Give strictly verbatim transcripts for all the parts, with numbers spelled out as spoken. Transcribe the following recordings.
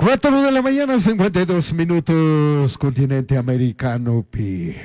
Cuatro de la mañana, cincuenta y dos minutos, continente americano, pi,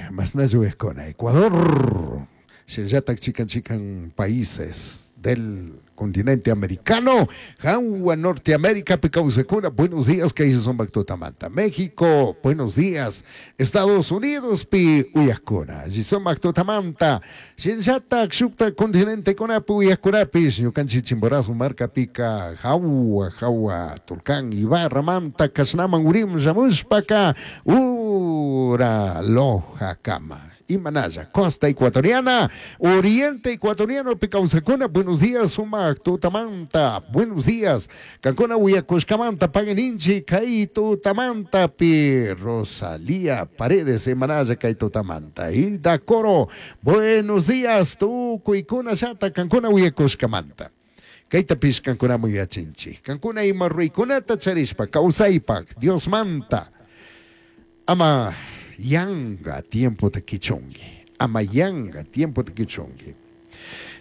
con Ecuador, shinallatak chikan chikan países del continente americano, Jahua Norteamérica, kawsakuna, buenos días, kay sumak tutamanta, México, buenos días, Estados Unidos, pi uyakuna, sumak tutamanta, shinallatak shukta continente kunapi uyakkunapish, ñukanchik Chimborazo markapika, jahua, jahua, Tulcán, Ibarra, manta, kashnaman urim, shamushpaka, ura, Loja kama. Imanalla, costa ecuatoriana, oriente ecuatoriano, pi kawsakuna, buenos días, sumak tutamanta, buenos días, kankuna uyakushkamanta, pagui ninchi, kay tutamanta, pi Rosalía Paredes, imanalla kay tutamanta, Hilda Coro, buenos días, tukuykuna llata, kankuna uyakushkamanta. Kaytapish kankunaman yachinchik. Kankuna ima ruraykunata charishpa, kawsaypak, Dios manta. Ama yanga tiempo ta kichunki. Ama yanga tiempo ta kichunki.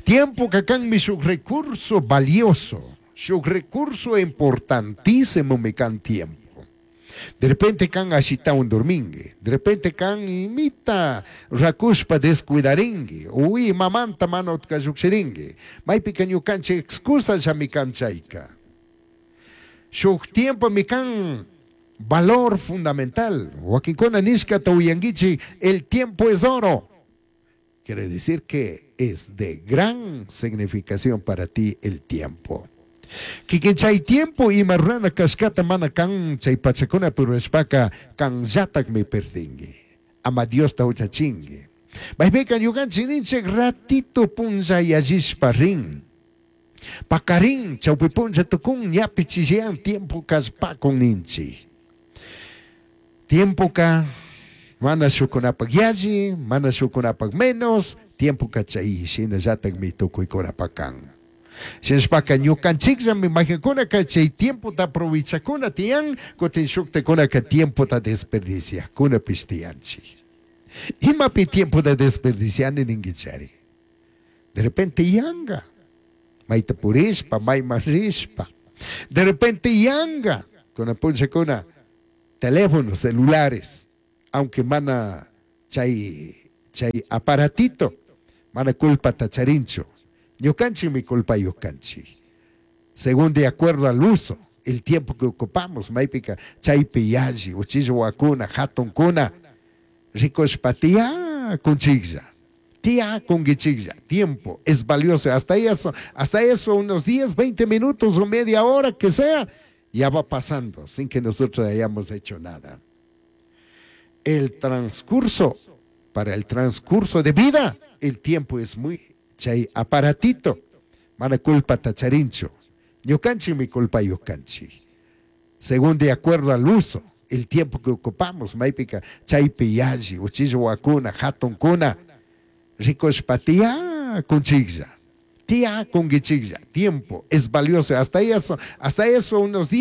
Tiempo kanmi shuk recurso valioso, shuk recurso importantísimo mi kan tiempo. De repente kan ashitawan dormingi, de repente kan imita rakushpa descuidaringi, uy mamanta mana utka llukshiringi, maypika ñukanchik excusa mi kan chayka. Shuk tiempo mi kan valor fundamental. Wakinkuna nishkata uyanguichi, el tiempo es oro. Quiere decir que es de gran significación para ti el tiempo. Kikin chay tiempo ima rurana kashkata mana kan chay pachakuna rurashpaka kanllatakmi perdingi. Ama Diosta huchachingi. Maypika ñukanchik ninchik ratito punlla yallishpa rin. Pakarin chawpi punlla tukun ñapi chishiyan tiempo kallpakun ninchik. Tiempo ka mana shukunapak yalli, mana shukunapak menos, tiempo ka chay shinallatakmi tukuykunapak kan. Shinashpaka ñukanchikllami maykankunaka chay tiempota aprovechakuna tiyan, kutin shuktakunaka tiempota desperdiciakunapish tiyanchik. Imapi tiempota desperdiciani ninguichari. De repente yanga, mayta purishpa, mayman rishpa. De repente yanga, kunan punllakuna teléfonos celulares, aunque mana chay, chay aparatito, mana culpata charinchu. Ñukanchikmi culpayuq kanchik. Según de acuerdo al uso, el tiempo que ocupamos, maypika chaypi yalli, uchilla wawakuna, hatunkuna, rikushpa tiyakunchiklla, tiyakunkichiklla, tiempo es valioso, hasta eso, hasta eso unos diez, veinte minutos o media hora que sea, ya va pasando sin que nosotros hayamos hecho nada. El transcurso, para el transcurso de vida, el tiempo es muy chay aparatito, mana culpata charinchu, ñukanchikmi culpayuq kanchik. Según de acuerdo al uso, el tiempo que ocupamos, maypika chaypi yalli, uchilla wawakuna, hatunkuna, rikushpa tiyakunchiklla, tiyakunkichiklla, tiempo es valioso, hasta eso, hasta eso unos diez